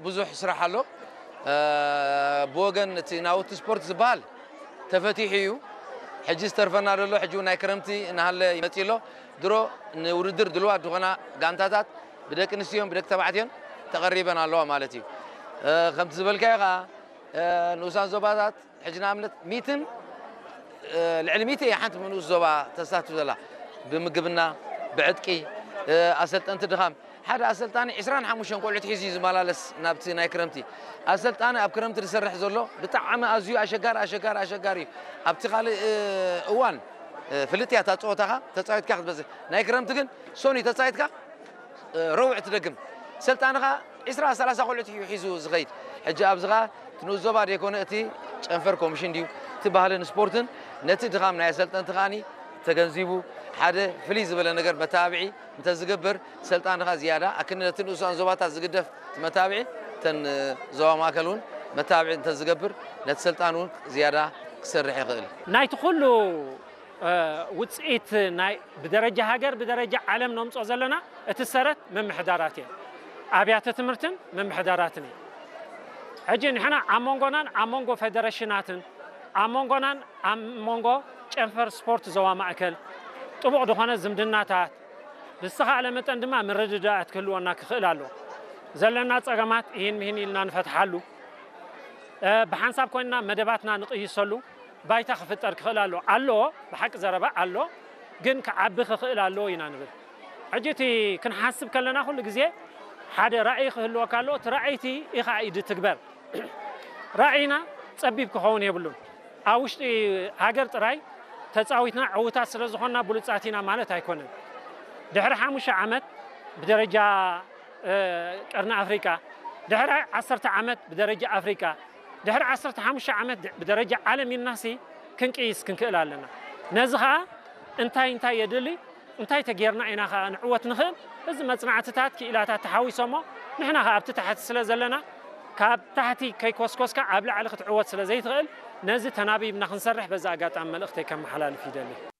ብዙሕ ስራሕ ኣሎ። ብወገን እቲ ናውቲ ስፖርት ዝበሃል ተፈቲሑ እዩ። ሕጂ ዝተርፈና ዘሎ ሕጂ ናይ ክረምቲ እናሃለ ይመፅእ ኣሎ። ድሮ ንውድድር ድልዋት ዝኾና ጋንታታት ብደቂ ኣንስትዮን ብደቂ ተባዕትዮን ተቐሪበን ኣለዋ ማለት እዩ። ከምቲ ዝበልካዮ ከዓ ንኡሳን ዞባታት ሕጂ ንኣብነት ሚትን ልዕሊ ሚት ሓንቲ ንኡስ ዞባ ተሳትፍ ዘላ ብምግብና ብዕጥቂ ኣሰልጠንቲ ድኻም ሓደ ኣሰልጣኒ ዕስራን ሓሙሽተን ቆልዑት ሒዙ እዩ ዝመላለስ ናብቲ ናይ ክረምቲ ኣሰልጣኒ ኣብ ክረምቲ ዝሰርሕ ዘሎ ብጣዕሚ ኣዝዩ ኣሸጋሪ ኣሸጋሪ ኣሸጋሪ እዩ። ኣብቲ ካልእ እዋን ፍልጥያ እታ ፀወታኻ ተፃዊትካ ክትበዝሕ ናይ ክረምቲ ግን ሶኒ ተፃዊትካ ረውዕ ትደግም ሰልጣንኻ ዕስራ ሰላሳ ቆልዑት እዩ ሒዙ ዝኸይድ። ሕጂ ኣብዚ ኸዓ እቲ ንኡስ ዞባ ደይኮነ እቲ ጨንፈር ኮሚሽን ድዩ እቲ ባህልን ስፖርትን ነቲ ድኻም ናይ ኣሰልጠንቲ ከዓኒ ተገንዚቡ ሓደ ፍልይ ዝበለ ነገር መተባብዒ እንተዝገብር ሰልጣንኻ ዝያዳ ኣክኒ ነቲ ንኡሳን ዞባታት ዝግደፍ እቲ መተባብዒ እተን ዞባ ማእከል እውን መተባብዒ እንተዝገብር ነቲ ሰልጣን እውን ዝያዳ ክሰርሕ ይኽእል። ናይቲ ኩሉ ውፅኢት ናይ ብደረጃ ሃገር ብደረጃ ዓለም ነምፅኦ ዘለና እቲ ሰረት ምምሕዳራት እየን ኣብያተ ትምህርትን ምምሕዳራትን እዩ ሕጂ ንሕና ኣብ መንጎናን ኣብ መንጎ ፌደሬሽናትን ኣብ መንጎናን ኣብ መንጎ ጨንፈር ስፖርት ዞባ ማእከል ጥቡቕ ዝኾነ ዝምድናታት ብዝተኻእለ መጠን ድማ ምርድዳእት ክህልወና ክኽእል ኣሎ ዘለና ፀገማት ይህን ምሂን ኢልና ንፈትሓሉ ብሓንሳብ ኮይንና መደባትና ንቕይሰሉ ባይታ ክፍጠር ክኽእል ኣሎ ኣሎ ብሓቂ ዘረባ ኣሎ ግን ክዓቢ ክኽእል ኣለዎ ኢና ንብል ሕጂ እቲ ክንሓስብ ከለና ኩሉ ግዜ ሓደ ራእይ ክህልወካ ኣሎ እቲ ራእይቲ ኢኻ ኢድ ትግበር ራእይና ፀቢብ ክኸውን የብሉን ኣብ ውሽጢ ሃገር ጥራይ ተፃዊትና ዕውታት ስለ ዝኾንና ብሉፃት ኢና ማለት ኣይኮነን ድሕሪ ሓሙሽተ ዓመት ብደረጃ ቀርኒ ኣፍሪቃ ድሕሪ ዓሰርተ ዓመት ብደረጃ ኣፍሪቃ ድሕሪ ዓሰርተ ሓሙሽተ ዓመት ብደረጃ ዓለም ኢልናሲ ክንቅይስ ክንክእል ኣለና ነዚ ኸዓ እንታይ እንታይ የድሊ እንታይ ተጌርና ኢና ኸዓ ንዕወት ንኽእል እዚ መፅናዕትታት ክኢላታት ተሓዊሶሞ ንሕና ኸዓ ኣብቲ ታሕቲ ስለ ዘለና ካብ ታሕቲ ከይኮስኮስካ ኣብ ላዕሊ ክትዕወት ስለ ዘይትኽእል ነዚ ተናቢብና ክንሰርሕ በዚ ኣጋጣሚ መልእኽተይ ከመሓላልፍ ይደሊ